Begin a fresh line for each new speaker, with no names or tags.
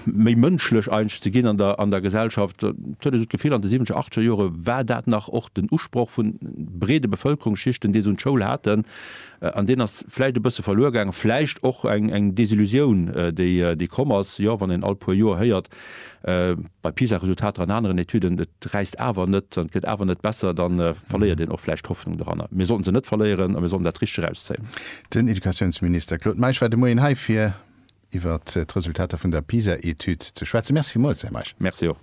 Méi mënschlech eigentlech ze ginn an der, an der Gesellschaft. Et huet ee sou d'Gefill, an de siwwenzeger, achteger Jore war dat nach och den Usproch vu breede Bevëlkerungsschichten, déi se un d'Schoul haten. An deen ass vläicht e bësse verluer gaangen. Vläicht och eng, eng Desillusioun, déi, déi komm ass, jo, wann een all puer Joer héiert, bei PISA-Resultater an aneren Etüden, et räisst awer net an et gëtt awer net besser, da verléiert een och vläicht d'Hoffnung doranner. Mir sollten se net verléieren a mir sollten dat Richteg erauszéien.
Den Educatiounsminister Claude Meisch war de Moien hei fir iwwert d'Resultater vun der PISA-Etüd ze schwätzen. Merci villmools, Här Meisch.
Merci och.